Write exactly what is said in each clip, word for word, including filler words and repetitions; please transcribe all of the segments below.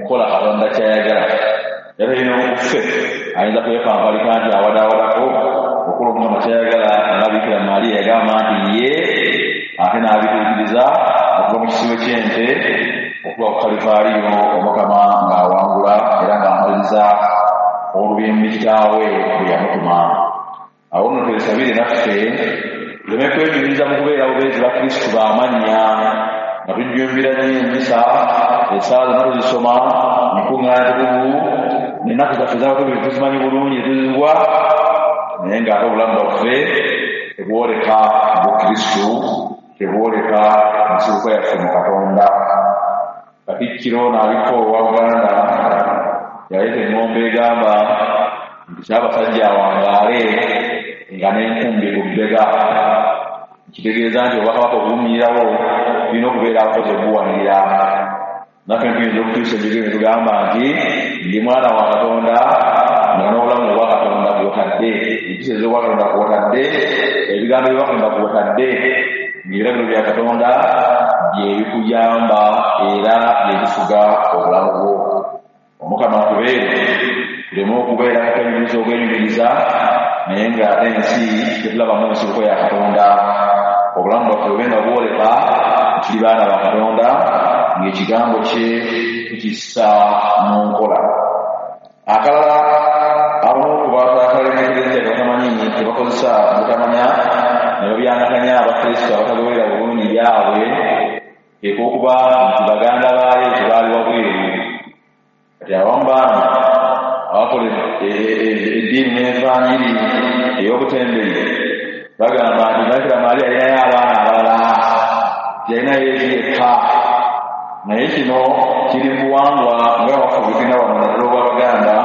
kukola Katonda kyayagala. Era ino okuffe ayinza kwepampalika nti awadaawadako okukola Omukama kyayagala, nga Bikira Maria yagamba nti ye ate n'abituukiriza okuva mu kisibo ky'ente okuva ku Kalivaaliyo, Omukama ng'awangula era ng'amaliriza olubimbi kitaawe bwe yamutuma. Awo nno twesabire naffe tuleme kwenyumiriza mu kubeera bubeezi ba Kristu b'amannya, nga tujjumbira nnyo emisa, essaala zonna tuzisoma, enkuŋŋaana tukuvu, n'ennaku zaffe z'abatukuvu tuzimanyi bulungi tuzigwa, naye ng'ate obulamu bwaffe tebwoleka Bukristu, tebwoleka nsibuko yaffe mu Katonda. Katikkiro n'aliko owa Buganda yaleeta eŋŋombe egamba nti Ssaabasajja awangaale nga n'enkumbi ku bbega, kitegeeza nti obwakabaka obuwummulirawo tulina okubeera abakozi obuwanirira. Naffe tuyinza okutuusa ebigere ne tugamba nti ndi mwana wa Katonda, nga n'obulamu obwa Katonda bw'otadde, empisa ez'obwa Katonda kw'otadde, ebigambo bya Katonda kw'otadde, ng'ebiragiro bya Katonda bye bikuyamba era bye bifuga obulamu bwo. Omukama atubeere, tuleme okubeera nga twenyumiriza obwenyumiriza, naye ng'ate ensi tetulabamu nsibuko ya Katonda. Obulamu bwaffe bube nga bwoleka nti tuli baana ba Katonda, ng'ekigambo kye tukissa mu nkola. Akalala abamu ku batakalemekereza batamanyi tebakozesa butamanya ne babyangatanya Abakristo abatagoberera bulungi byabwe, ek'okuba nti baganda ba Yesu baali wabweru. Kati abamu baana abakola eddiini n'envanjiri ey'obutembeyi bagamba nti Bikira Maria yalinayo abaana abalala, yalina Yesu yekka. Naye kino kiri mu buwangwa nga waffe bwe wano naddala obw'Abaganda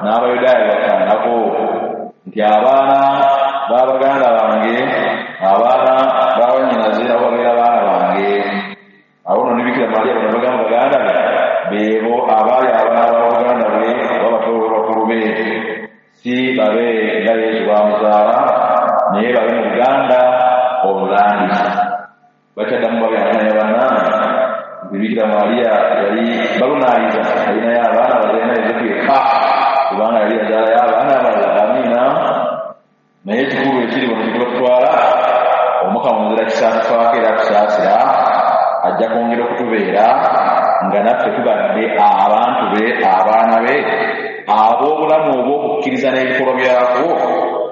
n'Abayudaaya bafaananako, nti abaana b'abaganda bange, abaana b'abannyinaze nabo babeera baana bange. Awo nno ne Bikira Maria bano bagamba baganda be beebo abaali abaana b'abaganda be oba bato be bakulu be, si babe nga Yesu baamuzaala, naye babe mu Buganda olulandiza. Bakyaddamu babyangatanya bannange nti Bikira Maria yali balunaayiza alinayo abaana bazalina Yosefu yekka, kubanga yali yazaalayo abaana abalala. Amiina. Naye ekikulu ekiri wano kye tutwala, Omukama omuzira kisa atufaako era atusaasira, ajja kwongera okutubeera nga naffe tubadde abantu be, abaana be, ab'obulamu obw'okukkiriza n'ebikolwa byakwo